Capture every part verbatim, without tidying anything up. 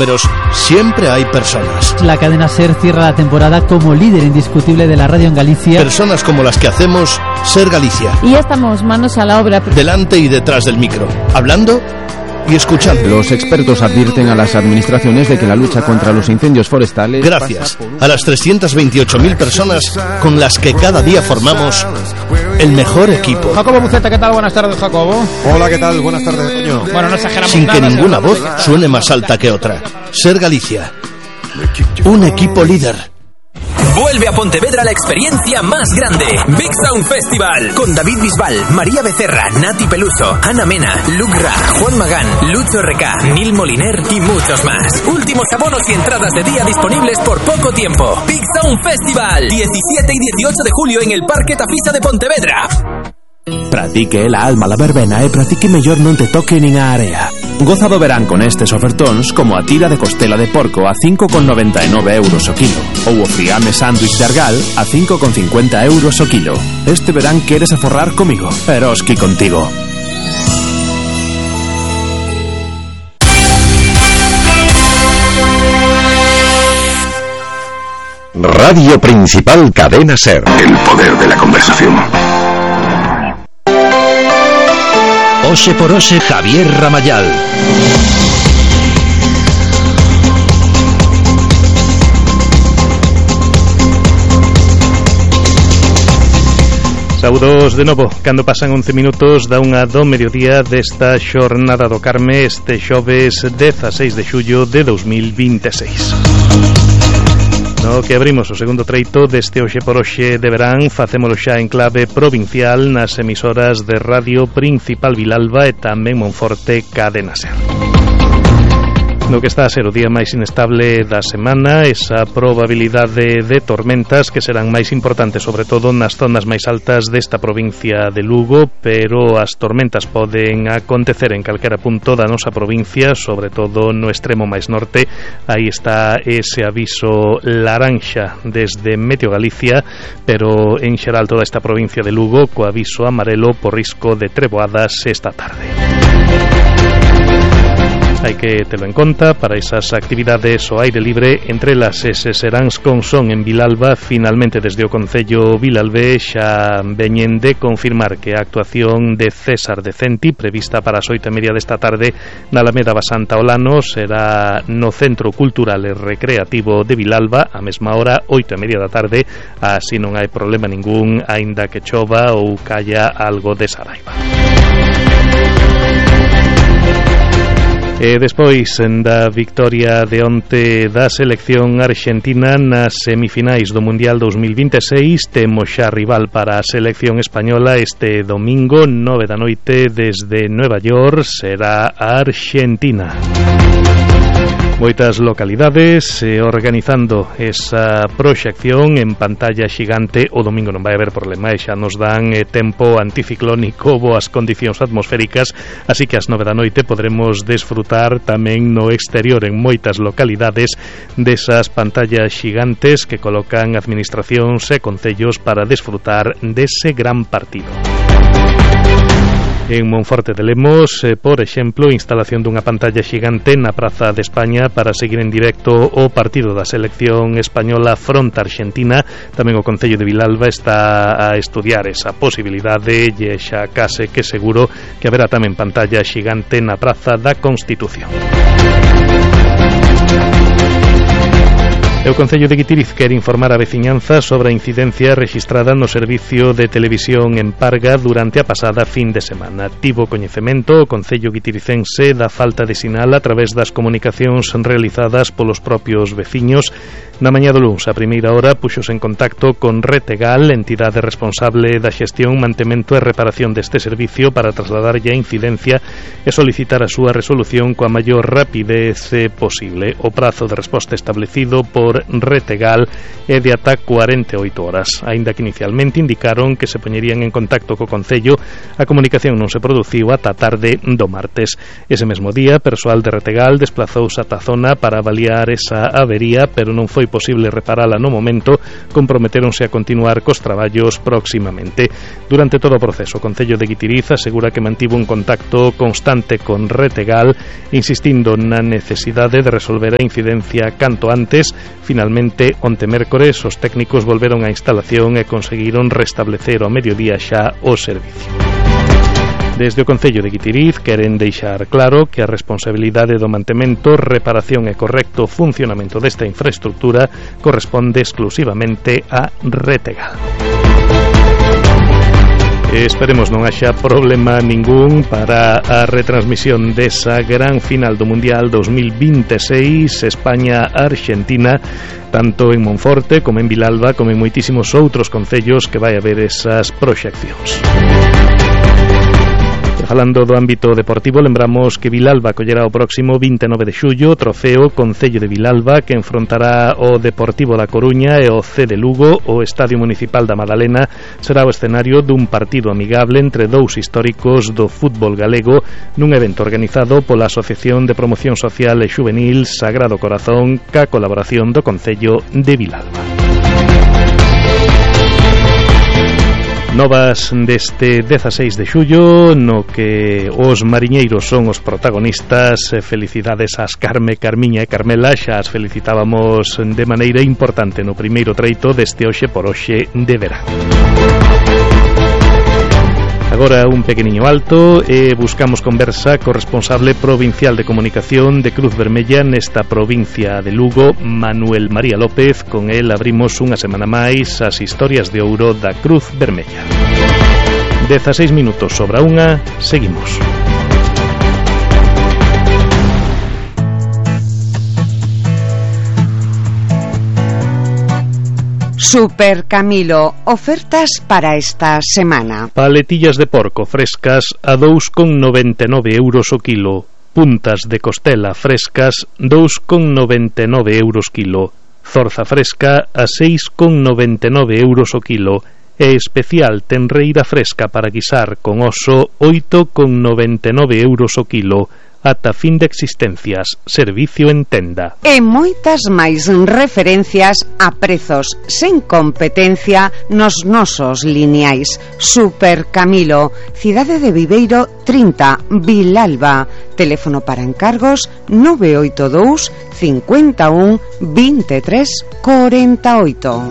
números, siempre hay personas. La cadena SER cierra la temporada como líder indiscutible de la radio en Galicia. Personas como las que hacemos Ser Galicia. Y ya estamos manos a la obra. Delante y detrás del micro, hablando y escuchando. Los expertos advierten a las administraciones de que la lucha contra los incendios forestales... Gracias a las trescientas veintiocho mil personas con las que cada día formamos el mejor equipo. Jacobo Buceta, ¿qué tal? Buenas tardes, Jacobo. Hola, ¿qué tal? Buenas tardes, coño. Bueno, no exageramos Sin nada, que ninguna voz porque... suene más alta que otra. Ser Galicia. Un equipo líder. Vuelve a Pontevedra la experiencia más grande, Big Sound Festival, con David Bisbal, María Becerra, Nati Peluso, Ana Mena, Luc Ra, Juan Magán, Lucho Recá, Nil Moliner y muchos más. Últimos abonos y entradas de día disponibles por poco tiempo. Big Sound Festival, diecisiete y dieciocho de julio en el Parque Tafisa de Pontevedra. Pratique la alma la verbena e pratique mellor non te toque nin a area. Goza do verán con estes ofertóns como a tira de costela de porco a cinco con noventa e nove euros o kilo ou o friame sándwich de argal a cinco con cincuenta euros o kilo. Este verán queres aforrar comigo, Eroski contigo. Radio Principal Cadena SER. El poder de la conversación. Oxe por Oxe Javier Ramayal. Saúdos de novo, cando pasan once minutos da unha do mediodía desta xornada do Carme este xoves dezaseis de xullo de dos mil vinte e seis. No que abrimos o segundo treito deste Oxe por Oxe de verán, facémolo xa en clave provincial nas emisoras de Radio Principal Vilalba e tamén Monforte Cadena SER. No que está a ser o día máis inestable da semana, esa probabilidade de tormentas que serán máis importantes sobre todo nas zonas máis altas desta provincia de Lugo, pero as tormentas poden acontecer en calquera punto da nosa provincia, sobre todo no extremo máis norte. Aí está ese aviso laranxa desde Meteo Galicia, pero en xeral toda esta provincia de Lugo co aviso amarelo por risco de treboadas esta tarde. Hai que telo en conta para esas actividades ao aire libre, entre las ese serán con son en Vilalba. Finalmente desde o Concello Vilalbe xa veñen de confirmar que a actuación de César Decenti prevista para as oito e media desta tarde na Alameda Basanta Olano será no Centro Cultural e Recreativo de Vilalba a mesma hora, oito e media da tarde, así non hai problema ningún aínda que chova ou calla algo de saraiva. E despois da victoria de onte da selección arxentina nas semifinais do Mundial dos mil vinte e seis, temos xa rival para a selección española este domingo, nove da noite desde Nueva York, será a Argentina. Moitas localidades eh, organizando esa proxección en pantalla xigante. O domingo non vai haber problema, e xa nos dan eh, tempo anticiclónico, boas condicións atmosféricas, así que ás nove da noite podremos desfrutar tamén no exterior en moitas localidades desas pantallas xigantes que colocan administracións e concellos para desfrutar dese gran partido. En Monforte de Lemos, eh, por exemplo, instalación dunha pantalla xigante na Praza de España para seguir en directo o partido da selección española fronte a Argentina. Tamén o Concello de Vilalba está a estudiar esa posibilidade e xa case que seguro que haberá tamén pantalla xigante na Praza da Constitución. O Concello de Guitiriz quere informar a veciñanza sobre a incidencia rexistrada no servicio de televisión en Parga durante a pasada fin de semana. Tivo coñecemento o Concello guitiricense da falta de sinal a través das comunicacións realizadas polos propios veciños. Na mañá do luns, a primeira hora, puxos en contacto con Retegal, entidade responsable da xestión, mantemento e reparación deste servicio, para trasladarlle a incidencia e solicitar a súa resolución coa maior rapidez posible. O prazo de resposta establecido por sector Retegal é de ata cuarenta e oito horas, aínda que inicialmente indicaron que se poñerían en contacto co Concello. A comunicación non se produciu ata a tarde do martes. Ese mesmo día, persoal de Retegal desplazouse ata a zona para avaliar esa avería, pero non foi posible reparala no momento. Comprometéronse a continuar cos traballos próximamente. Durante todo o proceso, o Concello de Guitiriz asegura que mantivo un contacto constante con Retegal, insistindo na necesidade de resolver a incidencia canto antes. Finalmente, onte mércores, os técnicos volveron á instalación e conseguiron restablecer ao mediodía xa o servicio. Desde o Concello de Guitiriz queren deixar claro que a responsabilidade do mantemento, reparación e correcto funcionamento desta infraestructura corresponde exclusivamente a Retegal. Esperemos non haxa problema ningún para a retransmisión desa gran final do Mundial dos mil veintiséis España-Argentina, tanto en Monforte como en Vilalba como en moitísimos outros concellos que vai haber esas proxeccións. Falando do ámbito deportivo, lembramos que Vilalba collerá o próximo vinte e nove de xullo o trofeo Concello de Vilalba, que enfrontará o Deportivo da Coruña e o C de Lugo. O Estadio Municipal da Madalena será o escenario dun partido amigable entre dous históricos do fútbol galego, nun evento organizado pola Asociación de Promoción Social e Xuvenil Sagrado Corazón, ca colaboración do Concello de Vilalba. Novas deste dezaseis de xullo, no que os mariñeiros son os protagonistas. Felicidades ás Carme, Carmiña e Carmela, xa as felicitábamos de maneira importante no primeiro treito deste Hoxe por Hoxe de verán. Agora un pequeniño alto e buscamos conversa co responsable provincial de comunicación de Cruz Vermella nesta provincia de Lugo, Manuel María López. Con el abrimos unha semana máis as historias de ouro da Cruz Vermella. dezaseis minutos sobre a unha, seguimos. Super Camilo, ofertas para esta semana. Paletillas de porco frescas a dous con noventa e nove euros o kilo. Puntas de costela frescas dous con noventa e nove euros kilo. Zorza fresca a seis con noventa e nove euros o kilo. E especial tenreira fresca para guisar con oso oito con noventa e nove euros o kilo. Ata fin de existencias, servicio en tenda. E moitas máis referencias a prezos sen competencia nos nosos lineais. Super Camilo, Cidade de Viveiro trinta, Vilalba. Teléfono para encargos nove oito dous, cinco un, dos tres, cuarenta y ocho.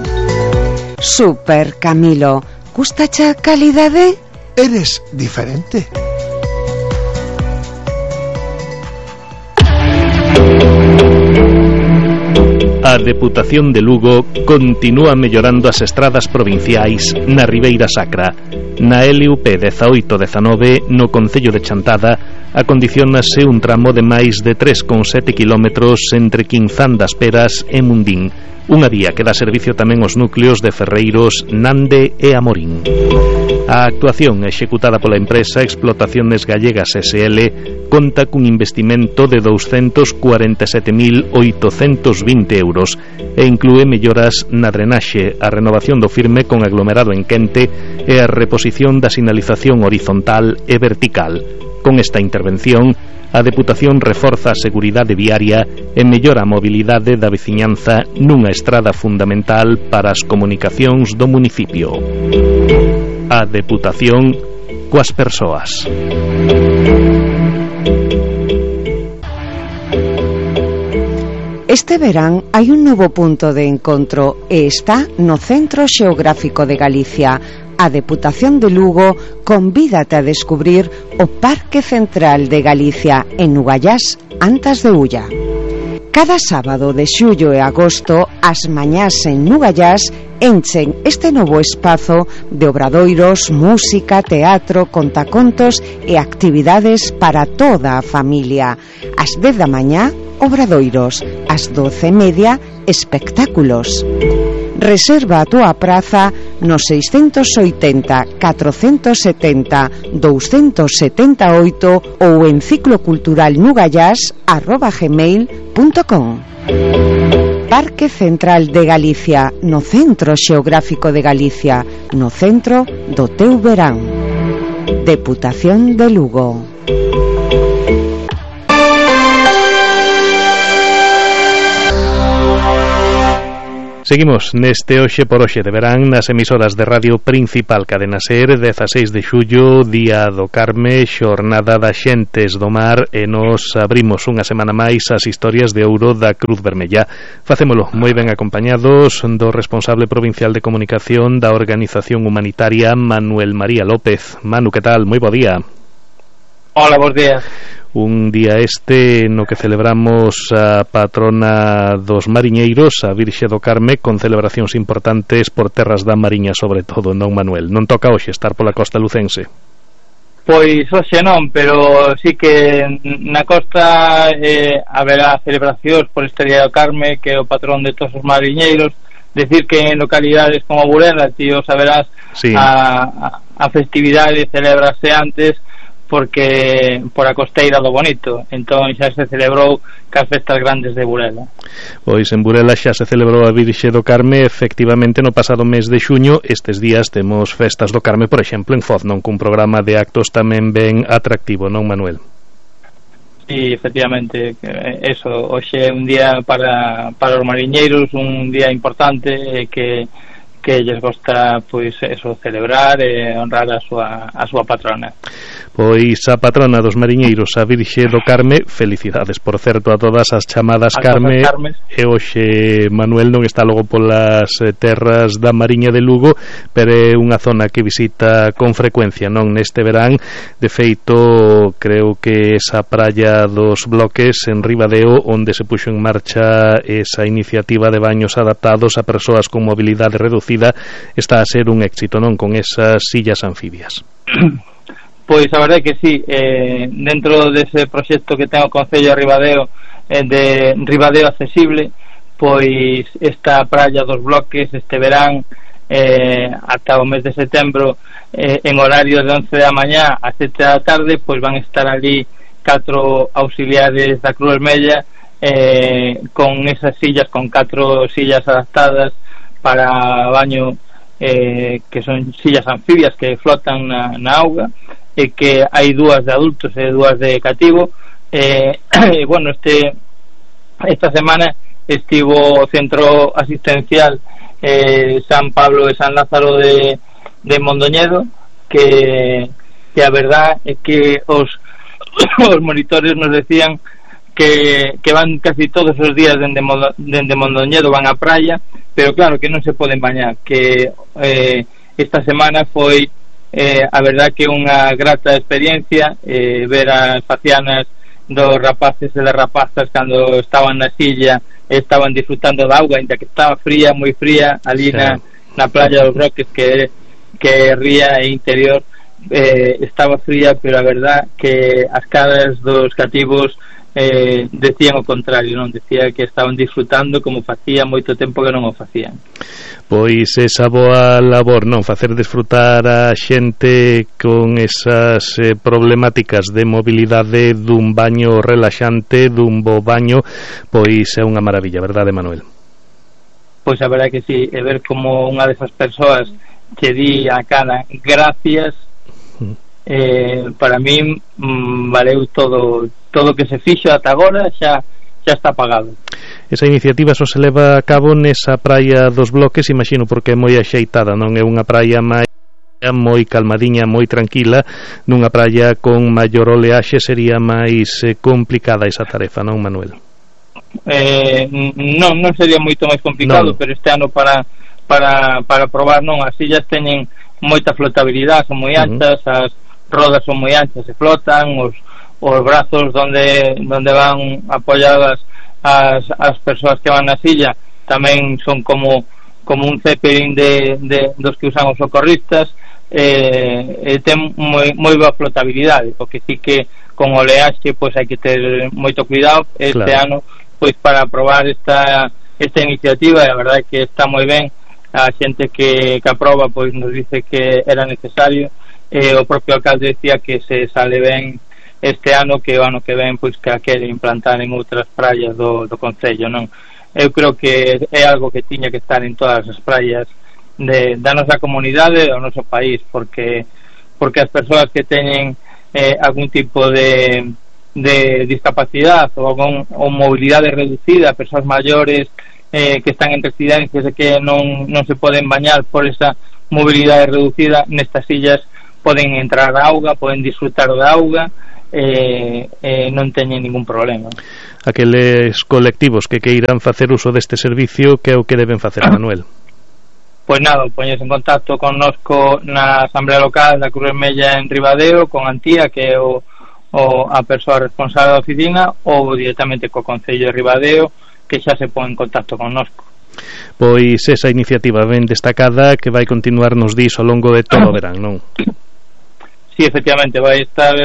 Super Camilo, gustacha calidade? Eres diferente. A Deputación de Lugo continúa mellorando as estradas provinciais na Ribeira Sacra. Na L U P dezaoito dezanove, no Concello de Chantada, acondicionase un tramo de máis de tres con sete kilómetros entre Quinzán das Peras e Mundín, unha vía que dá servicio tamén aos núcleos de Ferreiros, Nande e Amorín. A actuación executada pola empresa Explotaciones Gallegas S L conta cun investimento de douscentos cuarenta e sete mil oitocentos vinte euros e inclúe melloras na drenaxe, a renovación do firme con aglomerado en quente e a reposición da sinalización horizontal e vertical. Con esta intervención, a Deputación reforza a seguridade viaria e mellora a mobilidade da veciñanza nunha estrada fundamental para as comunicacións do municipio. A Deputación coas persoas. Este verán hai un novo punto de encontro e está no Centro Xeográfico de Galicia. A Deputación de Lugo convídate a descubrir o Parque Central de Galicia en Nugallás, Antas de Ulla. Cada sábado de xullo e agosto, as mañás en Nugallás enchen este novo espazo de obradoiros, música, teatro, contacontos e actividades para toda a familia. Ás dez da mañá, obradoiros, ás doce e media, espectáculos. Reserva a túa praza no seiscentos oitenta, catrocentos setenta, doscientos setenta e oito ou en cicloculturalnugallás arroba gmail punto com. Parque Central de Galicia, no Centro Xeográfico de Galicia, no centro do teu verán. Deputación de Lugo. Seguimos neste Hoxe por Hoxe de verán nas emisoras de radio principal Cadena Ser, dezaseis de xullo, Día do Carme, xornada das xentes do mar, e nos abrimos unha semana máis as historias de ouro da Cruz Vermella. Facémolo moi ben acompañados do responsable provincial de comunicación da organización humanitaria, Manuel María López. Manu, que tal? Moi bo día. Hola, bons días. Un día este no que celebramos a patrona dos mariñeiros, a Virxe do Carme, con celebracións importantes por terras da Mariña, sobre todo, non, Manuel? Non toca hoxe estar pola costa lucense? Pois hoxe non, pero sí que na costa eh, haberá celebracións por este Día do Carme, que é o patrón de todos os mariñeiros. Decir que en localidades como Burela, tío, saberás, sí. a, a, a festividade celebrase antes, porque por a costeira do Bonito, entón xa se celebrou cas festas grandes de Burela. Pois en Burela xa se celebrou a Virxe do Carme efectivamente no pasado mes de xuño. Estes días temos festas do Carme, por exemplo, en Foz, non, cun programa de actos tamén ben atractivo, non, Manuel? Sí, efectivamente, eso, hoxe é un día para, para os mariñeiros, un día importante que que lles gosta, pois, eso, celebrar e honrar a súa, a súa patrona. Pois a patrona dos mariñeiros, a Virxe do Carme, felicidades, por certo, a todas as chamadas a Carme, e hoxe Manuel non está logo polas terras da Mariña de Lugo, pero é unha zona que visita con frecuencia, non, neste verán. De feito, creo que esa praia dos Bloques en Ribadeo, onde se puxo en marcha esa iniciativa de baños adaptados a persoas con mobilidade reducida, está a ser un éxito, non, con esas sillas anfibias. Pois a verdade que sí, eh, dentro dese proxecto que ten o Concello de Ribadeo, eh, de Ribadeo Accesible, pois esta praia dos Bloques este verán, eh, ata o mes de setembro, eh, en horario de once da mañá a sete da tarde, pois van estar ali catro auxiliares da Cruz Vermella, eh, con esas sillas, con catro sillas adaptadas para baño, eh, que son sillas anfibias que flotan na, na auga, e que hai dúas de adultos e dúas de cativo. eh, bueno, este esta semana estivo o centro asistencial eh, San Pablo e San Lázaro de, de Mondoñedo, que, que a verdad é que os, os monitores nos decían que, que van casi todos os días dende, dende Mondoñedo, van á praia, pero claro que non se poden bañar, que eh, esta semana foi eh, a verdad que unha grata experiencia, eh, ver as facianas dos rapaces e das rapazas cando estaban na silla, estaban disfrutando da auga, ainda que estaba fría, moi fría, ali sí. na, na playa dos Bloques, que que ría e interior, eh, estaba fría, pero a verdad que as caras dos cativos Eh, decían o contrario, non, decía que estaban disfrutando como facía moito tempo que non o facían. Pois esa boa labor, non, facer disfrutar a xente con esas eh, problemáticas de mobilidade dun baño relaxante, dun bo baño, pois é unha maravilla, verdade, Manuel? Pois a verdade que sí, é ver como unha desas persoas que di a cara gracias, eh, para min mm, valeu todo todo que se fixo ata agora, xa xa está pagado. Esa iniciativa só se leva a cabo nesa praia dos Bloques, imagino, porque é moi axeitada, non é unha praia máis moi calmadiña, moi tranquila. Nunha praia con maior oleaxe sería máis eh, complicada esa tarefa, non, Manuel? Eh, non, non sería moito máis complicado, no. Pero este ano para para para probar, non, as sillas teñen moita flotabilidade, son moi anchas, uh-huh. As rodas son moi anchas, se flotan, os os brazos donde donde van apoyadas as, as persoas que van na silla tamén son como como un zeppelin de, de dos que usan os socorristas, eh, e ten moi, moi boa flotabilidade, porque sí que con oleaxe pois hai que ter moito cuidado este claro. Ano pois para probar esta esta iniciativa, e a verdade que está moi ben. A xente que, que aproba pois nos dice que era necesario, e o propio alcalde decía que se sale ben este ano, que o ano que ven pois que a quere implantar en outras praias do, do concello, non? eu creo que é algo que tiña que estar en todas as praias de, da nosa comunidade, do noso país, porque porque as persoas que teñen eh, algún tipo de, de discapacidade ou, algún, ou mobilidade reducida, persoas maiores eh, que están en residencias e que non, non se poden bañar por esa mobilidade reducida, nestas illas poden entrar a auga, poden disfrutar da auga, eh, eh, non teñen ningún problema. Aqueles colectivos que queiran facer uso deste servicio, que é o que deben facer, Manuel? Pois nada, poñes en contacto connosco na Asamblea Local da Cruz Vermella en Ribadeo, con Antía, que é o, o, a persoa responsable da oficina, ou directamente co Concello de Ribadeo, que xa se pon en contacto connosco. Pois esa iniciativa ben destacada que vai continuar, nos dis, ao longo de todo o verán, non? Sí, efectivamente, vai estar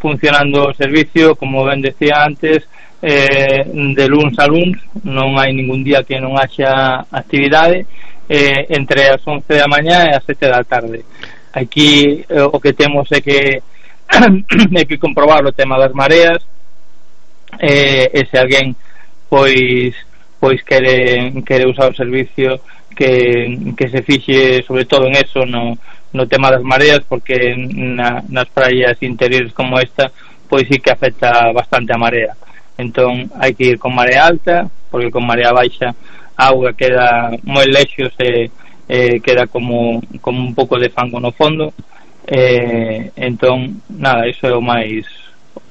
funcionando o servicio, como ben decía antes, eh, de luns a luns, non hai ningún día que non haxa actividade, eh, entre as once da mañá e as sete da tarde. Aquí eh, o que temos é que é que comprobar o tema das mareas, eh, e se alguén pois pois quere, quere usar o servicio, que, que se fixe sobre todo en eso, no, no tema das mareas, porque na, nas praias interiores como esta pois sí que afecta bastante a marea. Entón hai que ir con marea alta, porque con marea baixa a auga queda moi lexos e eh, queda como, como un pouco de fango no fondo, eh, entón nada, iso é o máis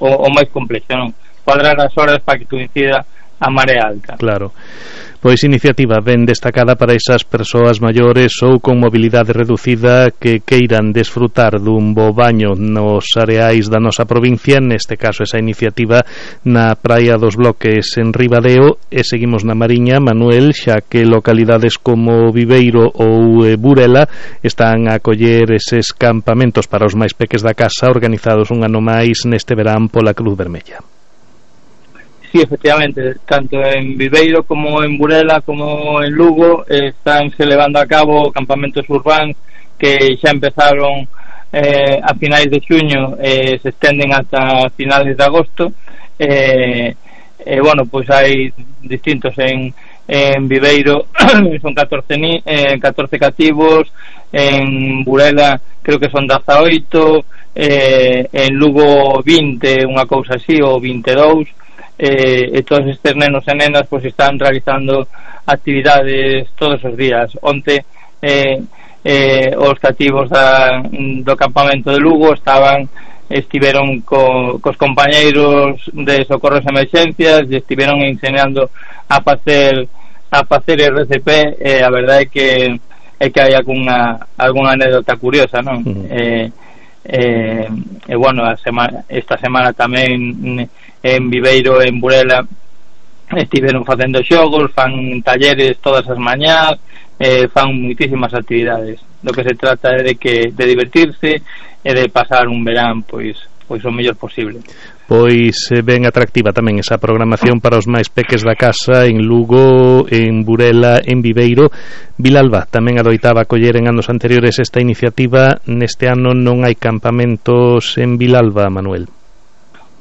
o, o máis complexo, non? Cuadrar as horas para que coincida a marea alta. Claro. Pois iniciativa ben destacada para esas persoas maiores ou con mobilidade reducida que queiran desfrutar dun bo baño nos areais da nosa provincia, neste caso esa iniciativa na Praia dos Bloques en Ribadeo. E seguimos na Mariña, Manuel, xa que localidades como Viveiro ou Burela están a acoller eses campamentos para os máis peques da casa, organizados un ano máis neste verán pola Cruz Vermella. Sí, efectivamente, tanto en Viveiro como en Burela como en Lugo eh, están se levando a cabo campamentos urbanos que xa empezaron eh, a finais de xuño e eh, se estenden ata finales de agosto. E eh, eh, bueno, pois hai distintos en, en Viveiro son catorce, eh, catorce cativos, en Burela creo que son dezaoito, eh, en Lugo vinte, unha cousa así, ou vinte e dous. Eh, e todos estes nenos e nenas pois están realizando actividades todos os días. Onte eh, eh, os cativos da, do campamento de Lugo estaban estiveron co, cos compañeiros de socorros e emergencias e estiveron enseñando a facer a facer R C P, e a verdade é que é que hai algunha algunha anécdota curiosa, non? Uh-huh. eh, eh, e bueno, a semana, esta semana tamén en Viveiro e en Burela estiveron facendo xogos, fan talleres todas as mañás, eh, fan muitísimas actividades. Do que se trata é de que de divertirse e de pasar un verán pois pois o mellor posible. Pois ben atractiva tamén esa programación para os máis peques da casa en Lugo, en Burela, en Viveiro. Vilalba tamén adoitaba coller en anos anteriores esta iniciativa. Neste ano non hai campamentos en Vilalba, Manuel.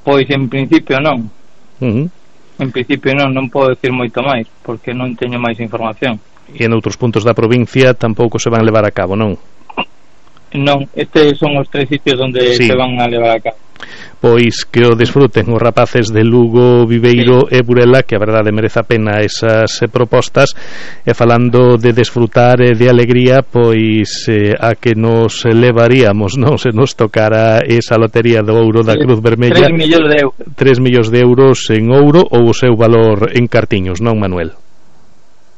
Pois en principio non. Uh-huh. En principio non, non podo decir moito máis, porque non teño máis información. E en outros puntos da provincia tampouco se van levar a cabo, non? Non, estes son os tres sitios onde sí. se van a levar a cabo. Pois que o desfruten os rapaces de Lugo, Viveiro sí. e Burela, que a verdade merece a pena esas eh, propostas. E falando de desfrutar e de alegría, pois eh, a que nos levaríamos, non, se nos tocara esa lotería do ouro da Cruz Vermella, tres millóns de euros tres millóns de euros en ouro, ou o seu valor en cartiños, non, Manuel?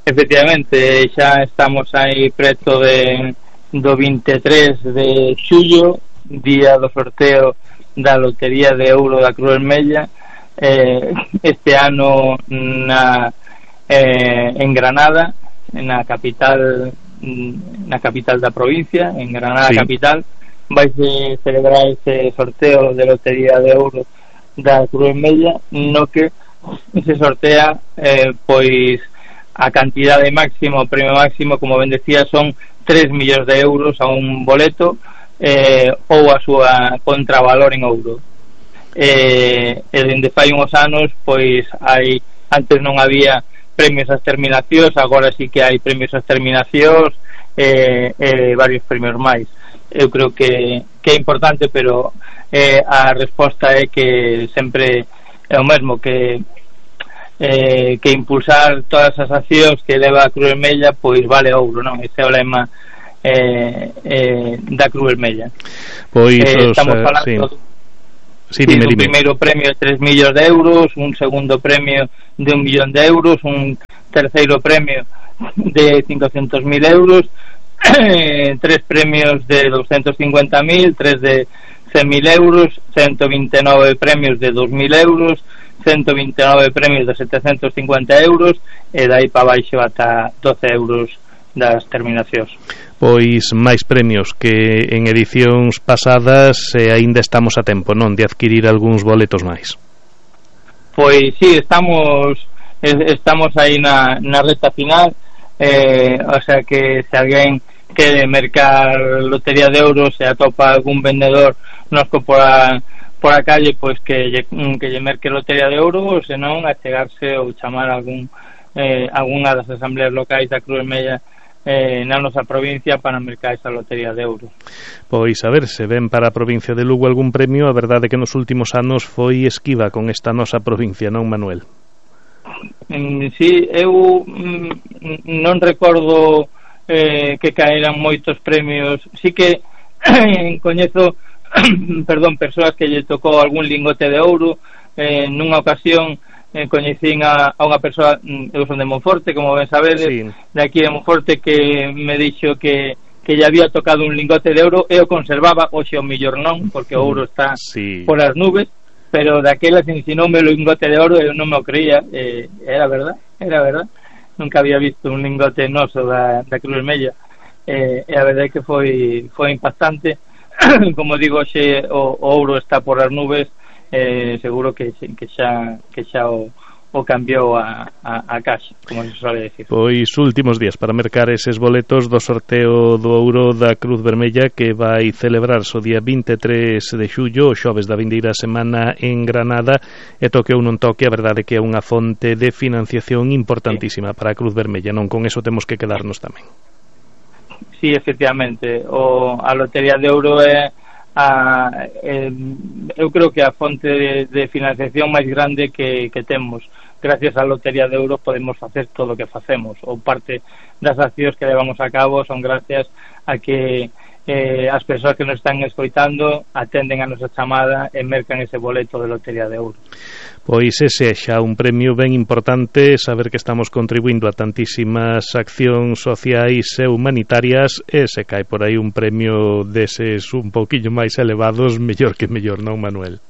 Efectivamente, xa estamos aí preto de do vinte e tres de xullo, día do sorteo da lotería de ouro da Cruz Vermella. eh, este ano na eh, en Granada, na capital na capital da provincia, en Granada sí. capital, vai se celebrar ese sorteo de lotería de ouro da Cruz Vermella, no que se sortea eh, pois a cantidade máxima, o premio máximo, como ben decía, son tres millóns de euros a un boleto, eh, ou a súa contravalor en ouro. Eh, e dende fai uns anos, pois hai, antes non había premios ás terminacións, agora sí que hai premios ás terminacións e eh, eh, varios premios máis. Eu creo que, que é importante, pero eh, a resposta é que sempre é o mesmo, que eh, que impulsar todas as accións que leva a Cruz Vermella pois vale ouro, non? Ese é o lema eh, eh, da Cruz Vermella. Pois eh, os, estamos falando sí. Sí, dime, un dime. primeiro premio de tres millóns de euros, un segundo premio de un millón de euros, un terceiro premio de cincuenta mil euros, tres premios de doscientos cincuenta mil, tres de cien mil euros, ciento veintinueve premios de dos mil euros, ciento veintinueve premios de setecientos cincuenta euros e dai para baixo ata doce euros das terminacións. Pois máis premios que en edicións pasadas e aínda estamos a tempo, non, de adquirir algúns boletos máis. Pois sí, estamos estamos aí na, na reta final, eh, o sea que se alguén quere mercar lotería de euros e atopa algún vendedor nosco por a, por a calle, pois que lle, que lle merque lotería de euros, senón a chegarse ou chamar algún eh, algunha das asambleas locais da Cruz Vermella eh, na nosa provincia para mercar esa lotería de euros. Pois a ver, se ven para a provincia de Lugo algún premio, a verdade é que nos últimos anos foi esquiva con esta nosa provincia, non, Manuel? Mm, sí, eu mm, non recordo eh, que caeran moitos premios. Sí que coñezo perdón, persoas que lle tocou algún lingote de ouro. Eh, nunha ocasión eh, coñecín a, a unha persoa, eu son de Monforte, como ben sabedes, sí, de aquí de Monforte, que me dixo que que lle había tocado un lingote de ouro e o conservaba, hoxe o millor non, porque o ouro está sí. por as nubes, pero daquela se ensinoume o lingote de ouro e eu non me o creía, eh, era verdad, era verdad. Nunca había visto un lingote noso da, da Cruz Vermella, eh, e a verdade é que foi foi impactante. Como digo, xe o, o ouro está por as nubes, eh, seguro que, que xa que xa o, o cambiou a, a, a caixa, como se suele decir. Pois últimos días para mercar eses boletos do sorteo do ouro da Cruz Vermella, que vai celebrarse o día vinte e tres de xullo, o xoves da vindeira semana en Granada, e toque ou non toque, a verdade que é unha fonte de financiación importantísima sí. para a Cruz Vermella, non? Con eso temos que quedarnos tamén. Sí, efectivamente, o, a lotería de ouro é a, eh, eu creo que a fonte de, de financiación máis grande que, que temos. Gracias á lotería de euros podemos facer todo o que facemos, ou parte das accións que levamos a cabo son gracias a que eh, as persoas que nos están escoitando atenden a nosa chamada e mercan ese boleto de lotería de euros. Pois ese é xa un premio ben importante, saber que estamos contribuindo a tantísimas accións sociais e humanitarias, e se cae por aí un premio deses un pouquillo máis elevados, mellor que mellor, non, Manuel?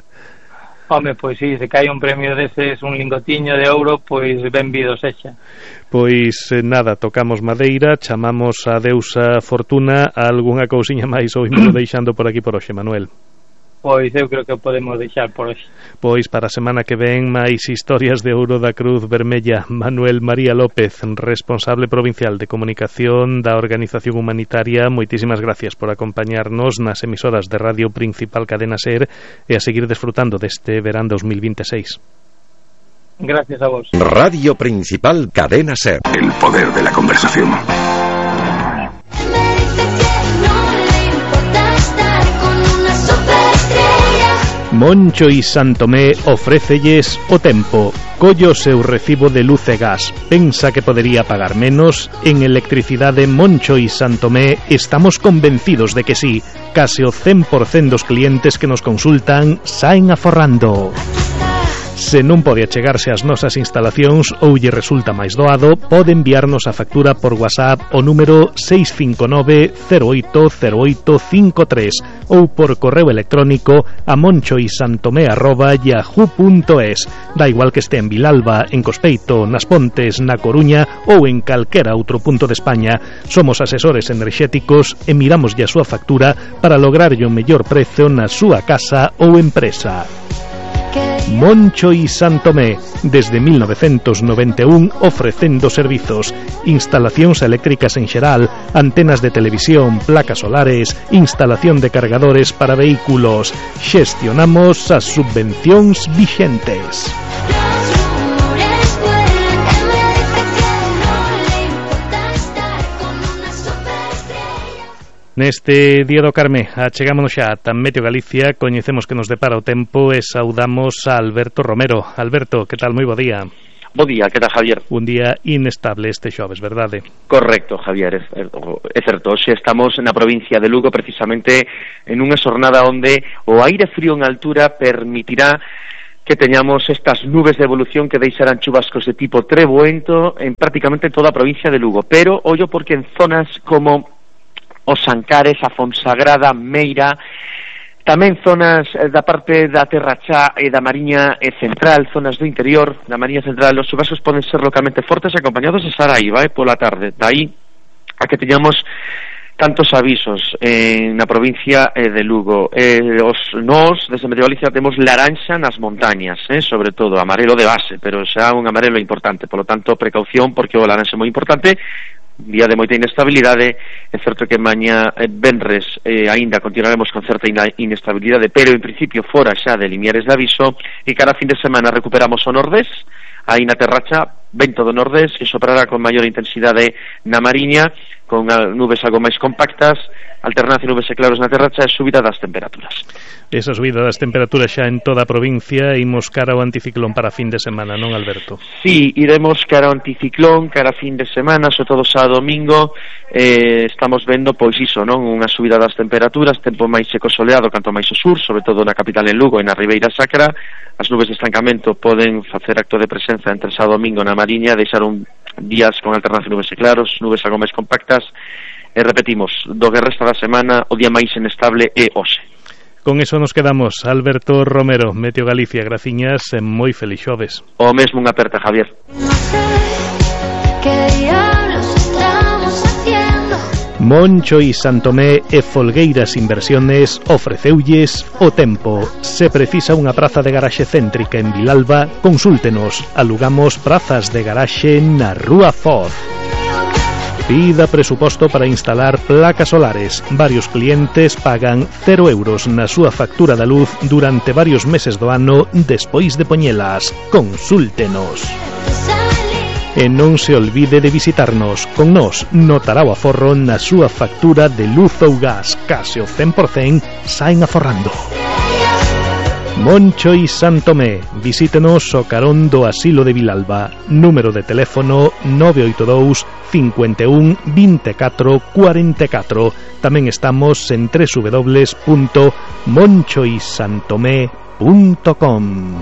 Home, pois si, se cae un premio deses, un lingotiño de ouro, pois benvido sexa. Pois nada, tocamos madeira, chamamos a deusa Fortuna, a algunha cousiña máis ou imos deixando por aquí por hoxe, Manuel? Pois eu creo que podemos deixar por hoxe. Pois para a semana que ven máis historias de ouro da Cruz Vermella. Manuel María López, responsable provincial de comunicación da organización humanitaria, moitísimas gracias por acompañarnos nas emisoras de Radio Principal Cadena Ser e a seguir desfrutando deste verán dos mil veintiséis. Gracias a vos. Radio Principal Cadena Ser. El poder de la conversación. Moncho y Santomé ofrécelles o tempo. Collo seu recibo de luz e gas. Pensa que podería pagar menos? En Electricidade Moncho y Santomé estamos convencidos de que sí. Case o cen por cento dos clientes que nos consultan saen aforrando. Se non pode achegarse ás nosas instalacións ou lle resulta máis doado, pode enviarnos a factura por WhatsApp o número seis cinco nove cero oito cero oito cinco tres ou por correo electrónico a monchoisantomé arroba yahoo punto es. Da igual que este en Vilalba, en Cospeito, nas Pontes, na Coruña ou en calquera outro punto de España. Somos asesores enerxéticos e miramos a súa factura para lograr o mellor prezo na súa casa ou empresa. Moncho y Santomé, desde mil novecentos noventa e un ofrecendo servizos, instalacións eléctricas en xeral, antenas de televisión, placas solares, instalación de cargadores para vehículos. Xestionamos as subvencións vixentes. Neste Día do Carme achegámonos xa ata Meteo Galicia, coñecemos que nos depara o tempo e saudamos a Alberto Romero. Alberto, que tal? Moi bo día. Bo día, que tal, Javier? Un día inestable este xoves, verdade? Correcto, Javier, é certo. Hoxe estamos na provincia de Lugo, precisamente en unha xornada onde o aire frío en altura permitirá que teñamos estas nubes de evolución que deixarán chubascos de tipo trebuento en prácticamente toda a provincia de Lugo. Pero, ollo, porque en zonas como os Ancares, a Fonsagrada, Meira, tamén zonas da parte da Terra Chá e da Mariña Central, zonas do interior da Mariña Central, os chubascos poden ser localmente fortes acompañados de saraiva, eh, pola tarde. Daí a que teñamos tantos avisos en na provincia eh, de Lugo. Eh, os nós, desde Medio Galicia, temos laranxa nas montañas, eh, sobre todo, amarelo de base, pero xa un amarelo importante, polo tanto, precaución, porque o laranxa é moi importante. Día de moita inestabilidade. É certo que mañá eh, venres eh, aínda continuaremos con certa inestabilidade, pero en principio fora xa de limiares de aviso, e cada fin de semana recuperamos o nordés, aí na Terra Chá, vento do nordés, que soprará con maior intensidade na Mariña, con nubes algo máis compactas, alternancia nubes e claros na Terra Chá e subida das temperaturas. Esa subida das temperaturas xa en toda a provincia, imos cara ao anticiclón para fin de semana, non, Alberto? Sí, iremos cara ao anticiclón, cara a fin de semana, sobre todo sábado domingo, eh, estamos vendo, pois iso, non? Unha subida das temperaturas, tempo máis seco soleado canto máis ao sur, sobre todo na capital en Lugo e na Ribeira Sacra. As nubes de estancamento poden facer acto de presenza entre sábado domingo na Mariña, deixar un días con alternancia nubes e claros, nubes algo máis compactas, e repetimos, do que resta da semana, o día máis inestable é hoxe. Con eso nos quedamos. Alberto Romero, Meteo Galicia, graciñas e moi feliz xoves. O mesmo, unha aperta, Javier. Moncho y Santomé e Folgueiras Inversiones ofreceulles o tempo. Se precisa unha praza de garaxe céntrica en Vilalba, consúltenos. Alugamos prazas de garaxe na Rúa Foz. Pida presuposto para instalar placas solares. Varios clientes pagan cero euros na súa factura da luz durante varios meses do ano despois de poñelas. Consúltenos. E non se olvide de visitarnos. Con nós notará o aforro na súa factura de luz ou gas. Case o cen por cen saen aforrando. Moncho y Santomé. Visítenos o carón do Asilo de Vilalba. Número de teléfono nove oito dous, cinco un, dos catro, cuatro catro. Tamén estamos en doble u doble u doble u punto moncho y santomé punto com.